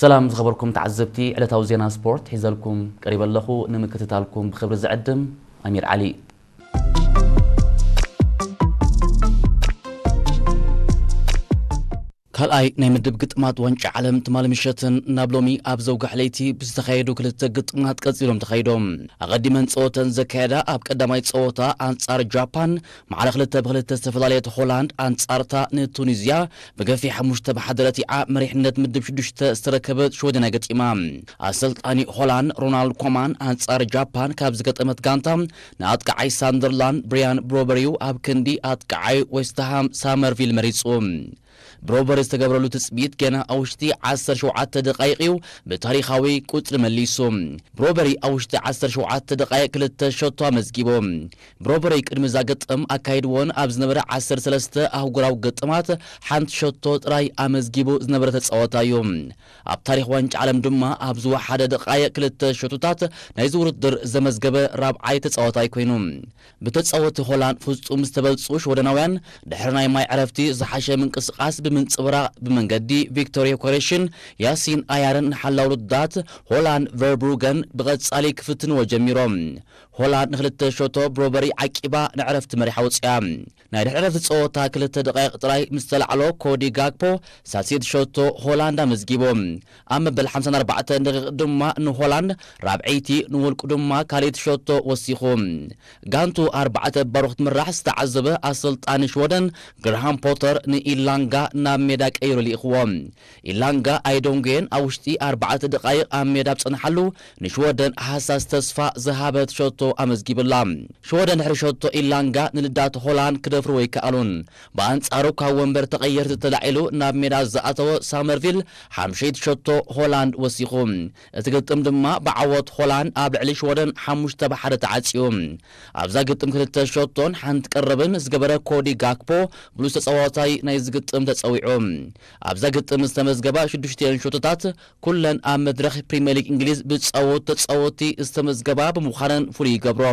ሰላም ዝኸበርኩም ተዓዘብቲ፣ ዕለታዊ ዜና ስፖርት ሒዘልኩም ቀሪበ ኣለኹ። ንምክትታልኩም ብኽብሪ ዝዕድም ኣሚር ዓሊ። ካልኣይ ናይ ምድብ ግጥማት ዋንጫ ዓለም ትማሊ ምሸትን ናብ ሎሚ ኣብ ዘውግሕ ለይቲ ብዝተኻየዱ ክልተ ግጥማት ቀጺሎም ተኻይዶም። ኣቐዲመን ጸወተን ዘካየዳ ኣብ ቀዳማይ ጸወታ ኣንጻር ጃፓን ማዕረ ክልተ ብክልተ ዝተፈላለየት ሆላንድ ኣንጻርታ ንቱኒዝያ ብገፊሕ ሓሙሽተ ብሓደ ረቲዓ መሪሕነት ምድብ ሽዱሽተ ዝተረከበት ሽወደን ገጢማ። ኣሰልጣኒ ሆላንድ ሮናልድ ኮማን ኣንጻር ጃፓን ካብ ዝገጠመት ጋንታ ንኣጥቃዓይ ሳንደርላንድ ብሪያን ብሮበሪዩ ኣብ ክንዲ ኣጥቃዓይ ዌስትሃም ሳመርቪል መሪጹ። ብሮበሪ ዝተገብረሉ ትጽቢት ገና ኣብ ውሽጢ ዓሰርተ ሸውዓተ ደቃይቕ እዩ ብታሪኻዊ ቁጽሪ መሊሱ። ብሮበሪ ኣብ ውሽጢ ዓሰርተ ሸውዓተ ደቃይቕ ክልተ ሸቶ ኣመዝጊቡ። ብሮበሪ ቅድሚ እዛ ግጥም ኣካይድዎን ኣብ ዝነበረ ዓሰርተ ሰለስተ ኣህጉራዊ ግጥማት ሓንቲ ሸቶ ጥራይ ኣመዝጊቡ ዝነበረ ተጻዋታይ እዩ። ኣብ ታሪኽ ዋንጫ ዓለም ድማ ኣብ ዝወሓደ ደቃይቕ ክልተ ሸቶታት ናይዚ ውድድር ዘመዝገበ ራብዓይ ተጻዋታይ ኮይኑ። ብተጻወቲ ሆላንድ ፍጹም ዝተበልጹ ሽወደናውያን ድሕሪ ናይ ማይ ዕረፍቲ ዝሓሸ ምንቅስቓስ ብምንጽብራቕ ብመንገዲ ቪክቶር ዮከሬሽን፣ ያሲን ኣያርን ንሓላው ውድድራት ሆላንድ ቨርብሩገን ብቐጻሊ ክፍትንዎ ጀሚሮም። ሆላንድ ንክልተ ሸቶ ብሮበሪ ዓቂባ ንዕረፍቲ መሪሓ ወጺኣ። ናይ ድሕሪ ዕረፍቲ ጸወታ ክልተ ደቃይቕ ጥራይ ምስ ተላዕሎ ኮዲ ጋክፖ ሳልሰይቲ ሸቶ ሆላንድ ኣመዝጊቡ። ኣብ መበል ሓምሳን ኣርባዕተን ደቂቕ ድማ ንሆላንድ ራብዐይቲ ንውልቁ ድማ ካልኣይቲ ሸቶ ወሲኹ። ጋንቱ ኣርባዕተ ባሮ ክትምራሕ ዝተዓዘበ ኣሰልጣኒ ሽወደን ግርሃም ፖተር ንኢላንጋ ናብ ሜዳ ቀይሩ ልኢኽዎ። ኢላንጋ ኣይዶንጌን ኣብ ውሽጢ ኣርባዕተ ደቃይቕ ኣብ ሜዳ ኣብ ጸንሓሉ ንሽወደን ሃሳስ ተስፋ ዝሃበት ሸቶ ኣመዝጊብላ። ሽወደን ድሕሪ ሸቶ ኢላንጋ ንልዳት ሆላንድ ክደፍርዎ ኣይከኣሉን። ብኣንጻሩ ካብ ወንበር ተቐየርቲ ተላዒሉ ናብ ሜዳ ዝኣተወ ሳመርቪል ሓምሸይቲ ሸቶ ሆላንድ ወሲኹ። እቲ ግጥም ድማ ብዓወት ሆላንድ ኣብ ልዕሊ ሽወደን ሓሙሽተ ብሓደ ተዓጽዩ። ኣብዛ ግጥም ክልተ ሸቶን ሓንቲ ቀረብን ዝገበረ ኮዲ ጋክፖ ብሉጽ ተጻዋታይ ናይዚ ግጥም ተጸዊዑ። ኣብዛ ግጥም ዝተመዝገባ ሽዱሽቲኤን ሸቶታት ኩለን ኣብ መድረኽ ፕሪምየር ሊግ እንግሊዝ ብዝጻወቱ ተጻወትቲ ዝተመዝገባ ብምዃነን ፍሉይ ይገብሮ።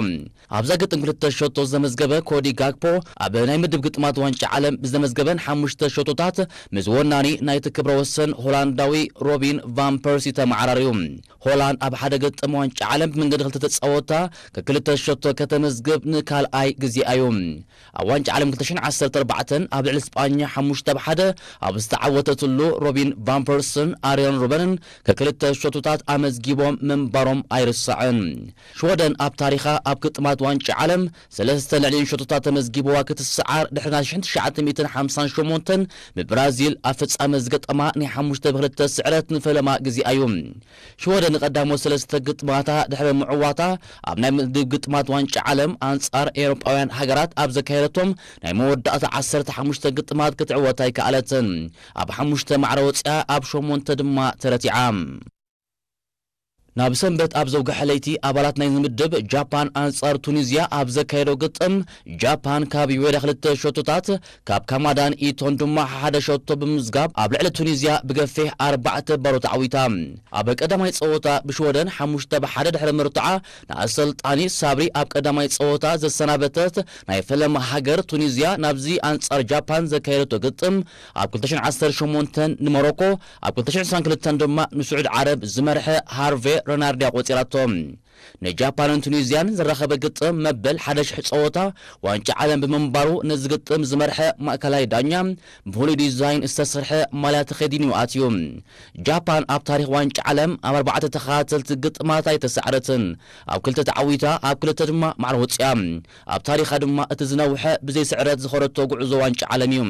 ኣብዛ ግጥም ክልተ ሸቶ ዘመዝገበ ኮዲ ጋክፖ ኣብ ናይ ምድብ ግጥማት ዋንጫ ዓለም ብዘመዝገበን ሓሙሽተ ሸቶታት ምስ ወናኒ ናይቲ ክብረ ወሰን ሆላንዳዊ ሮቢን ቫን ፐርሲ ተመዓራርዩ። ሆላንድ ኣብ ሓደ ግጥም ዋንጫ ዓለም ብመንገዲ ክልተ ተጻወታ ከክልተ ሸቶ ከተመዝግብ ንካልኣይ ግዜኣ እዩ። ኣብ ዋንጫ ዓለም ክልተ ሽሕን ዓሰርተ ኣርባዕተን ኣብ ልዕሊ ስጳኛ ሓሙሽተ ብሓደ ኣብ ዝተዓወተትሉ ሮቢን ቫን ፐርስን ኣርዮን ሩበንን ከክልተ ሸቶታት ኣመዝጊቦም ምንባሮም ኣይርሳዕን። ሽወደን ኣብ ታሪኻ ኣብ ግጥማት ዋንጫ ዓለም ሰለስተ ልዕሊኡን ሸቶታት ተመዝጊብዋ ክትሰዓር ድሕሪ ናይ ሽሕን ትሽዓተ ሚእትን ሓምሳን ሸሞንተን ብብራዚል ኣብ ፍጻመ ዝገጠማ ናይ ሓሙሽተ ብክልተ ስዕረት ንፈለማ ግዜኣ እዩ። ሽወደን ንቐዳሞት ሰለስተ ግጥማታ ድሕሪ ምዕዋታ ኣብ ናይ ምድብ ግጥማት ዋንጫ ዓለም ኣንጻር ኤውሮጳውያን ሃገራት ኣብ ዘካየደቶም ናይ መወዳእታ ዓሰርተ ሓሙሽተ ግጥማት ክትዕወት ኣይከኣለትን። ኣብ ሓሙሽተ ማዕረ ወጺኣ ኣብ ሸሞንተ ድማ ተረቲዓ። ናብ ሰንበት ኣብ ዘውግሐ ለይቲ ኣባላት ናይ ምድብ ጃፓን ኣንጻር ቱኒዝያ ኣብ ዘካየዶ ግጥም ጃፓን ካብ ዩዌዳ ክልተ ሸቶታት ካብ ካማዳን ኢቶን ድማ ሓደ ሸቶ ብምዝጋብ ኣብ ልዕሊ ቱኒዝያ ብገፊሕ ኣርባዕተ ባሮ ተዓዊታ። ኣብ ቀዳማይ ጸወታ ብሽወደን ሓሙሽተ ብሓደ ድሕሪ ምርትዓ ንኣሰልጣኒ ሳብሪ ኣብ ቀዳማይ ጸወታ ዘሰናበተት ናይ ፈለማ ሃገር ቱኒዝያ ናብዚ ኣንጻር ጃፓን ዘካየደቶ ግጥም ኣብ ክልተ ሽሕን ዓሰርተ ሸሞንተን ንሞሮኮ ኣብ ክልተ ሽሕን ዕስራን ክልተን ድማ ንስዑድ ዓረብ ዝመርሐ ሃርቬ ረናርዲ ኣቆጺራቶ። ንጃፓንን ቱኒዝያን ዘራኸበ ግጥም መበል ሓደ ሽሕ ጸወታ ዋንጫ ዓለም ብምንባሩ ነዚ ግጥም ዝመርሐ ማእከላይ ዳኛ ብፍሉይ ዲዛይን ዝተሰርሐ ማልያ ተኸዲኑ ኣትዩ። ጃፓን ኣብ ታሪኽ ዋንጫ ዓለም ኣብ ኣርባዕተ ተኸታተልቲ ግጥማት ኣይተሳዕረትን። ኣብ ክልተ ተዓዊታ ኣብ ክልተ ድማ ማዕረ ወጺኣ። ኣብ ታሪኻ ድማ እቲ ዝነውሐ ብዘይ ስዕረት ዝኸደቶ ጉዕዞ ዋንጫ ዓለም እዩ።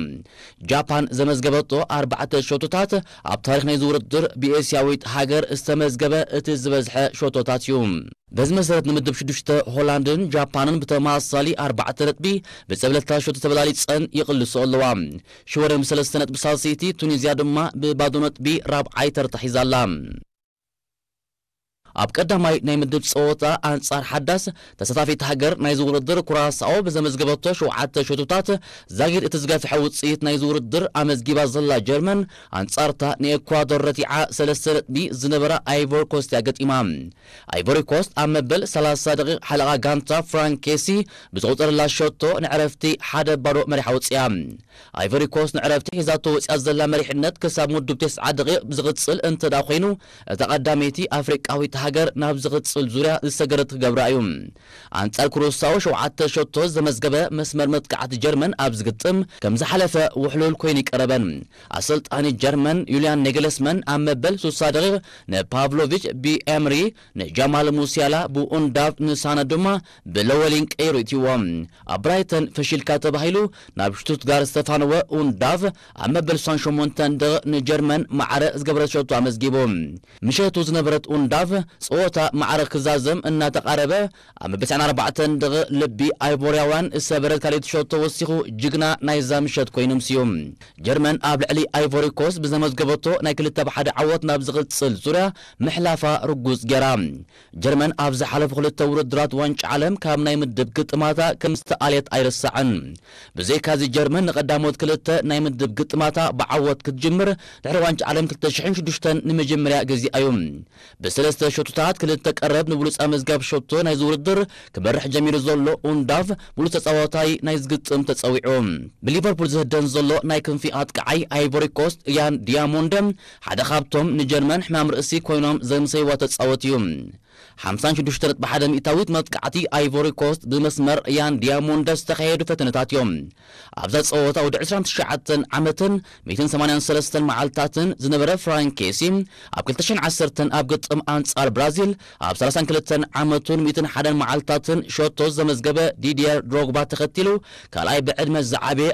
ጃፓን ዘመዝገበቶ ኣርባዕተ ሸቶታት ኣብ ታሪኽ ናይዚ ውድድር ብኤስያዊት ሃገር ዝተመዝገበ እቲ ዝበዝሐ ሸቶታት እዩ። በዚ መሰረት ንምድብ ሽዱሽተ ሆላንድን ጃፓንን ብተመሳሳሊ ኣርባዕተ ነጥቢ ብጸብለልታ ሸቶ ተበላሊጸን ይቕልስኦ ኣለዋ። ሽወደን ብሰለስተ ነጥቢ ሳልሰይቲ፣ ቱኒዝያ ድማ ብባዶ ነጥቢ ራብዓይ ተርታ ሒዛ ኣላ። ኣብ ቀዳማይ ናይ ምድብ ጸወታ ኣንጻር ሓዳስ ተሳታፊት ሃገር ናይዚ ውድድር ኩራሳኦ ብዘመዝገበቶ ሸውዓተ ሸቶታት ዛጊድ እቲ ዝገፍሐ ውጽኢት ናይዚ ውድድር ኣመዝጊባ ዘላ ጀርመን ኣንጻርታ ንኤኳዶር ረቲዓ ሰለስተ ነጥቢ ዝነበራ ኣይቮሪ ኮስት እያ ገጢማ። ኣይቮሪ ኮስት ኣብ መበል ሰላሳ ደቂቕ ሓለቓ ጋንታ ፍራንክ ኬሲ ብዝቆጸረላ ሸቶ ንዕረፍቲ ሓደ ባዶ መሪሓ ወጽያ። ኣይቮሪ ኮስት ንዕረፍቲ ሒዛቶ ወጽያ ዘላ መሪሕነት ክሳብ ምድብ ተስዓ ደቂቕ ዝቕጽል እንተ ደኣ ኮይኑ፣ እታ ቀዳመይቲ ኣፍሪቃዊት ሃገር ናብ ዝቕጽል ዙርያ ዝሰገረት ክገብራ እዩ። ኣንጻር ኩሩሳኦ ሸውዓተ ሸቶ ዘመዝገበ መስመር መጥቃዕቲ ጀርመን ኣብ ዝግጥም ከም ዝሓለፈ ውሕሉል ኮይኑ ይቀረበን። ኣሰልጣኒ ጀርመን ዩልያን ኔግለስመን ኣብ መበል ስሳ ደቂቕ ንፓቭሎቪች ብኤምሪ፣ ንጃማል ሙሲያላ ብኡንዳቭ፣ ንሳነ ድማ ብለወሊን ቀይሩ ይእትይዎ። ኣብ ብራይተን ፈሺልካ ተባሂሉ ናብ ሽቱትጋርት ዝተፋነወ ኡንዳቭ ኣብ መበል ስሳን ሸሞንተን ደቂቕ ንጀርመን ማዕረ ዝገበረት ሸቶ ኣመዝጊቡ። ምሸቱ ዝነበረት ኡንዳቭ ጸወታ ማዕረ ክዛዘም እናተቓረበ ኣብ መበል ትስዓን ኣርባዕተን ደቂቕ ልቢ ኣይቮርያውያን ዝሰበረት ካልኣይቲ ሸቶ ወሲኹ ጅግና ናይዛ ምሸት ኮይኑ ኣምስዩ። ጀርመን ኣብ ልዕሊ ኣይቮሪ ኮስት ብዘመዝገበቶ ናይ ክልተ ብ ሓደ ዓወት ናብ ዝቕጽል ዙርያ ምሕላፋ ርጉጽ ገይራ። ጀርመን ኣብ ዝሓለፉ ክልተ ውድድራት ዋንጫ ዓለም ካብ ናይ ምድብ ግጥማታ ከም ዝተኣልየት ኣይርሳዕን። ብዘይካዚ ጀርመን ንቐዳሞት ክልተ ናይ ምድብ ግጥማታ ብዓወት ክትጅምር ድሕሪ ዋንጫ ዓለም ክልተ ሽሕን ሽዱሽተን ንመጀመርያ ግዜኣ እዩ። ብሰለስተ ሸቶታት ክልተ ቀረብ ንብሉጽ ኣመዝጋቢ ሸቶ ናይዚ ውድድር ክመርሕ ጀሚሩ ዘሎ ኡንዳቭ ብሉጽ ተጻዋታይ ናይ ዝግጥም ተጸዊዑ። ብሊቨርፑል ዝህደን ዘሎ ናይ ክንፊ ኣጥቃዓይ ኣይቮሪ ኮስት ያን ዲያሞንደ ሓደ ካብቶም ንጀርመን ሕማም ርእሲ ኮይኖም ዘምሰይዋ ተጻወት እዩ። ሓምሳን ሽዱሽተ ነጥቢ ሓደ ሚእታዊት መጥቃዕቲ ኣይቮሪ ኮስት ብመስመር ያን ዲያሞንደ ዝተኻየዱ ፈተነታት እዮም። ኣብዛ ጸወታ ወዲ ዕስራን ትሽዓተን ዓመትን ሚእትን ሰማንያን ሰለስተን መዓልታትን ዝነበረ ፍራንክ ኬሲ ኣብ ክልተ ሽሕን ዓሰርተን ኣብ ግጥም ኣንጻር ብራዚል ኣብ ሰላሳን ክልተን ዓመቱን ሚእትን ሓደን መዓልታትን ሸቶ ዘመዝገበ ዲድየር ድሮግባ ተኸቲሉ ካልኣይ ብዕድመ ዝዓበየ